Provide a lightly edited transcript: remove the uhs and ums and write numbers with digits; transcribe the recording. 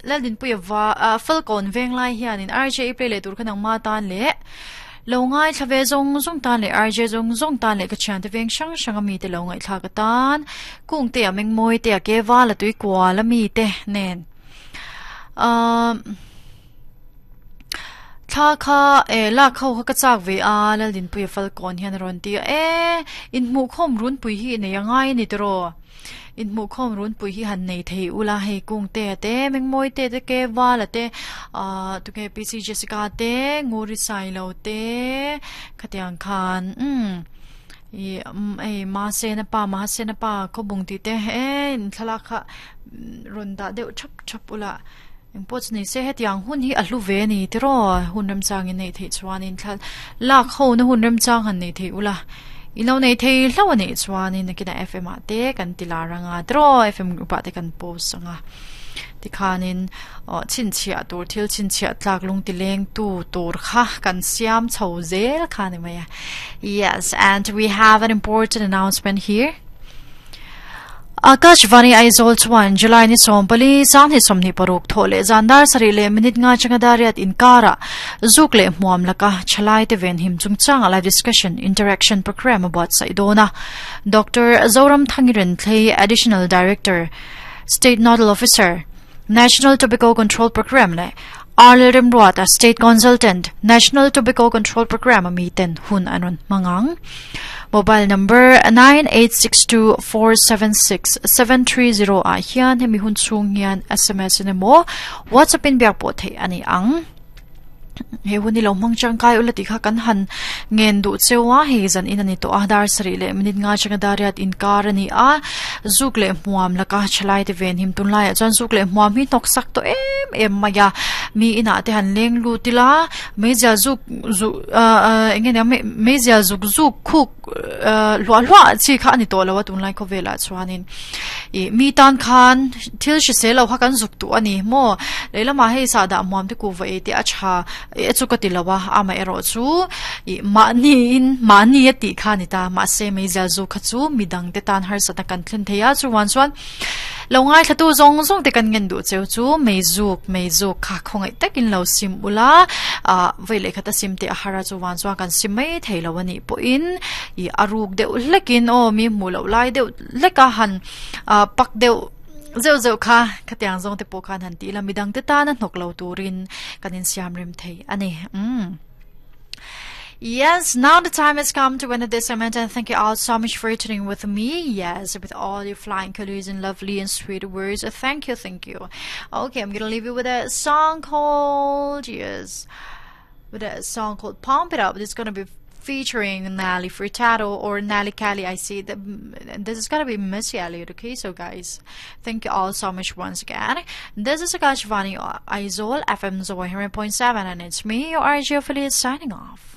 Laldinpuia va Falkawn venglai hianin RJ play leh tur kha nangma tan leh lo ngaithla ve zawng zawng tan leh RJ zawng zawng tan leh ka thiante veng hrang hrang a mite lo ngaihthlak atan Kungte a Mengmawi te a Kevala Tuikual a mite nen ahh thla kha eh lak ho kha ka chak ve a Laldinpuia Falkawn hian a rawn ti a e inhmuhkhawm runpui hi i nei a ngai a ni tiraw. Inhmuhkhawm runpui hi han nei thei ula hei Kungte a te Mengmawi te te Kevala te ahh tunge PC Jessica te Nguri Sailo te khatiang khan umm ih hei Mahsena pa Mahsena pa Khawbung tih te he thlalak kha rawn dah deuh thap thap ula engpawh chu ni se hetiang hun hi a hlu ve a ni tiraw hun remchangin neih theih chuanin thla lak ho na hun remchang han nei thei ula i lo nei thei hlauh a nih chuanin nakinah F_M ah te kan ti lar anga tiraw F_M group ah te kan post anga tikhanin aw chhinchhiah tur thil chhinchhiah tlak lung ti leng tu tur kha kan siam chho zel kha a ni mai a yes and we have an important announcement here. Akashvani Aizawl chuan July ni 14 2026 thawh leh zan dar sarih leh minute nga changa dariat inkarah zuk leh hmuam laka thalaite venhim chungchanga live discussion interaction program a buatsaih dawn a. Doctor Zoram Thangiren Thlei Additional Director, State Nodal Officer, National Tobacco Control Programme leh Arlel Remruata State Consultant, National Tobacco Control Programme a miten hun an rawn hmang ang. Mobile number 9862476730 ah hian hemi hun chhung hian SMS in emaw WhatsApp in biak pawh theih a ni ang. He hun hi lo hmang tangkai ula tih kha kan han ngen duh cheu a, hei zan in a ni tawh a, dar sarih leh minute nga atanga dar riat inkar a ni a, zuk leh hmuam laka thalai te ven him tunlaiah chuan zuk leh hmuam hi hnawk sak tawh em em mai a, mi inah te han leng lut ila meizial zuk zuk ah ah eng nge nia meizial zuk zuk khuk ah hluah hluah chi kha a ni tawh lo a tunlai khawvelah chuanin. Ih mi tan khan thil hrisel lo kha kan zuk duh a ni maw lehlamah hei sahdah muam te kuhva ei te a tha e chu ka ti lo a amaherawh chu ih mahni in mahni a tih kha a ni ta mahse meizial zu kha chu midang te tan harsatna kan thlen thei a chuan chuan lo ngaithla tu zawng zawng te kan ngen duh cheu chu meizuk meizuk kha khawngaih takin lo sim ula ah vawi leh khat a sim teh a har a chuan chuan kan sim mai thei lo a nih pawhin ih a ruk deuh hlekin aw mi hmuh loh lai deuh leka han ah pak deuh zeuh zeuh kha khatiang zawng te pawh khan han tih ila midang te tana hnawk lo turin kan insiam rem thei a ni umm Yes, now the time has come to end this segment and thank you all so much for tuning with me. Yes, with all your flying colors and lovely and sweet words. Thank you, thank you. Okay, I'm gonna leave you with a song called yes, with a song called Pump It Up. It's gonna be featuring Nelly Furtado or Nelly Kelly. I see that this is gonna be Missy Elliott. Okay, so guys, thank you all so much once again. This is Akashvani Aizawl FM 100.7 and it's me, your RJ affiliate, signing off.